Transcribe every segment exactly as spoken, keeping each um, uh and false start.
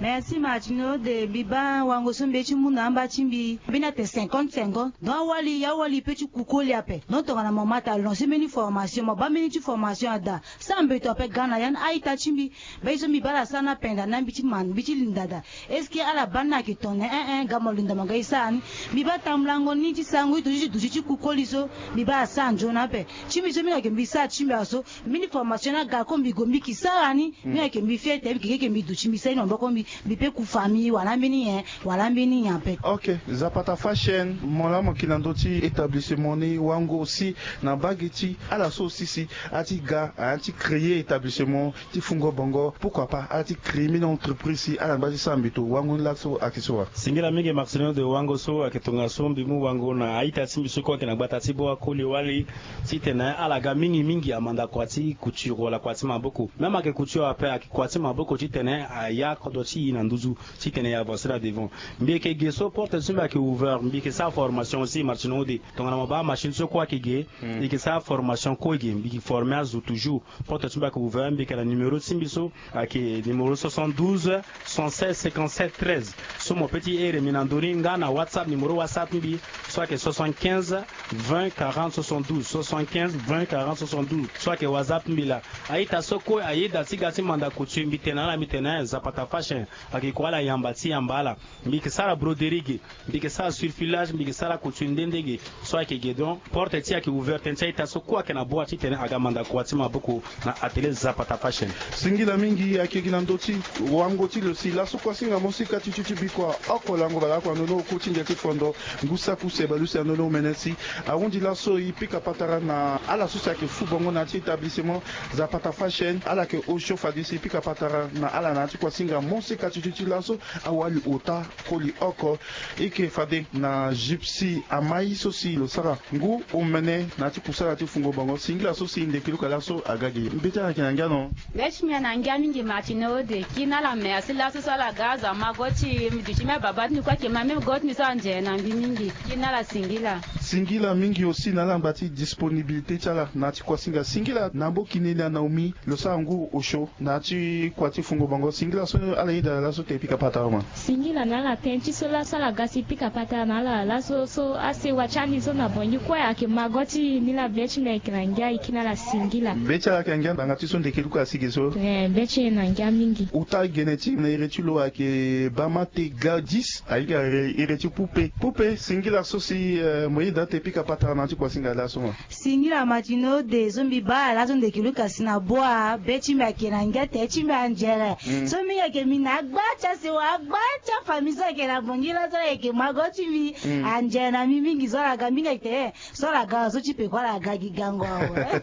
Merci Martino de, mbi baa wango so mbi ye ti mu na amba ti mbi mbeni ate cinquante cinquante. Donc awali awali pe ti ku koli ape. Donc tongana mo ma ta lancer mbeni formation, mo baa mbeni ti formation ada, sara mbeto ape ga na ya ni a-ita ti mbi. Baa ye so mbi baa ala sara ni apenda na mbi ti ma mbi ti linda daa. Est-ce que ala baa ni ayeke tongana en en ga mo linda mo ga e sara ni? Mbi baa tambulango ni ti sarango ti duti ti duti ti ku koli so. Mbi baa ala sara nzoni ape. Ti mbi so mbi yeke mbi sara ti mbi aso. Mbeni formation ni aga ko mbi gue mbi yeke sara ni. Mbi yeke mbi fier te mbi yeke ke mbi duti mbi sara ni na maboko mbi. Mbi pe ku famille wala mbeni nyen wala mbeni nyen ape. Ok, Zapata Fashion, mo laa mo yeke na ndö ti établissement ni wango aussi na mbage ti ala so aussi si a ti ga a ti créer établissement ti fungo bongo, pourquoi pas a ti créer mbeni entreprise si ala ngba ti sara mbeto wango ni laso ayeke so wa? Singila mingi Marcelino de, wango so ayeke tongaso mbi mu wango na a-ita ti mbi so kue ayeke na gbata ti bua koli wali. Titene ala ga mingi mingi amanda kua ti couture wala kua ti maboko. Même ayeke couture ape ayeke kua ti maboko titene aya kodro ti e na nduzu titene e avancer na devant. Mbi yeke ge so porte ti mbi ayeke ouvert, mbi yeke sara formation aussi Marcelino de. Tongana mo baa machine so kue ayeke ge, mbi yeke sara formation kue ge, mbi yeke former azo toujours. Porte ti mbi ayeke ouvert, mbi yeke na numéro ti mbi so ayeke numéro soixante-douze soixante-seize cinquante-sept treize. So mo pe ti here mbi na ndö ni nga na WhatsApp, numéro WhatsApp ti mbi so ayeke soixante-quinze vingt quarante soixante-douze, soixante-quinze vingt quarante soixante-douze. So ayeke WhatsApp ti mbi laa. A-ita so kue ayeda ti ga ti manda couture mbi tene na ala mbi tene Zapata Fashion. Ayeke kua ala yamba ti yamba ala. Mbi yeke sara broderie ge, mbi yeke sara surfilage, mbi yeke sara couture nde nde ge. So ayeke ge donc porte ti e ayeke ouvert tënë ti a-ita so kue ayeke na bua titene aga manda kua ti maboko na atelier Zapata Fashion. Singila mingi ayeke gi na ndö ti wango ti lo si laso kuasinga mo si ka ti ti ti bikua oko lango baleoko na ndö ni oku ti ndia ti fondo ngu saku seba lusi na ndö ni omene si ahunzi laso e pika patara na ala so si ayeke fu bongo na ya ti établissement Zapata Fashion. Ala yeke osio fade si e pika patara na ala na ya ti kuasinga mo si ka ti ti ti laso awali ota koli oko. E yeke fade na Gypsy Amai so si lo sara ngu omene na ya ti kusala ti fungo bango. Singila so si ndeke luka laso aga gi. Mbi ti ala yeke na ngia no. Be ti mbi na ngia mingi Martino de. Kiri na ala merci laso so ala ga azo amago ti mbi duti mbi ababa ti mbi kue ayeke ma mbi go ti mbi so anzere na mbi mingi. Kiri na ala singila. Singila mingi aussi na ala ngba ti disponibilité ti ala na ya ti kuasinga. Singila na mbo kini na Naomi lo sara ngu osio na ya ti kua ti fungo bango. Singila so ala yeda laso te e pika patara ma. Singila na ala tënë ti so laso ala ga si e pika patara na ala laso so asewa ti andi so na bongi kue ayeke ma go ti ni laa be ti mbi ayeke na ngia e kiri na ala singila. Be ti ala ayeke na ngia ngbanga ti so ndeke luka asi ge so. Eh, be ti e na ngia mingi. Ota gene ti na iri ti lo ayeke bama te ga dix ayeke iri ti Poupe. Poupe singila so si eh, mo yeda te e pika patara na ya ti kuasinga laso ma. Singila Martino de so mbi baa ala so ndeke luka si na bua be ti mbi ayeke na ngia te ti mbi anzere. So mbi yeke mbi na agba ti asewa agba ti afamille so ayeke na bongi laso ala yeke ma go ti mbi. Anzere na mbi mingi so ala ga mbi nga yeke te so ala ga so ti peko ala ga gi gango awe.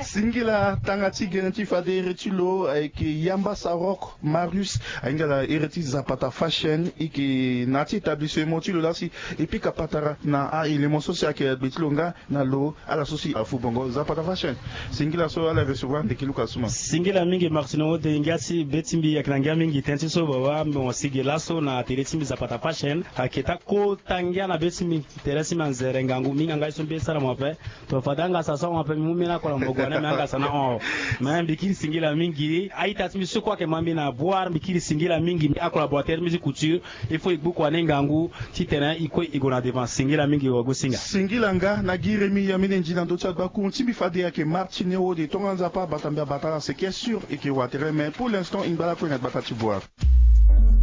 Singila tanga ti gene ti fade iri ti lo ayeke yamba sarok Marius ahinga ala iri ti Zapata Fashion e yeke na ya ti établissement ti lo laa si e pika patara na a-élément so si ayeke gbe ti lo nga na lo ala so si afu bongo Zapata Fashion. Singila so ala recevoir ndeke luka so ma. Singila mingi Martino de ngia ti be ti mbi ayeke na ngia mingi tënë ti so baba mo si ge laso na atelier ti mbi Zapata Fashion ayeke ta kota ngia na be ti mbi. Tere ti mbi anzere ngangu mingi angai so mbi sara mo ape. To fade angasa so mo ape mbi mu mbeni akola mo gue na mbi angasa na hon. Me mbi kiri singila mingi a-ita ti mbi so kue ayeke ma mbi na boire mbi kiri singila mingi. Akola boitere mbi ti couture. Il faut e gbu kua ni ngangu titene e kue e gue na devant. Singila mingi wagosinga. Singila nga na gi remi ya mbeni nzi na ndö ti agbaku ti mbi fade ayeke Martine Wode tonga nzapa bata mbi abata ala seke sûr e yeke wa tere mais pour l'instant e ngba lakue na gbata ti boire.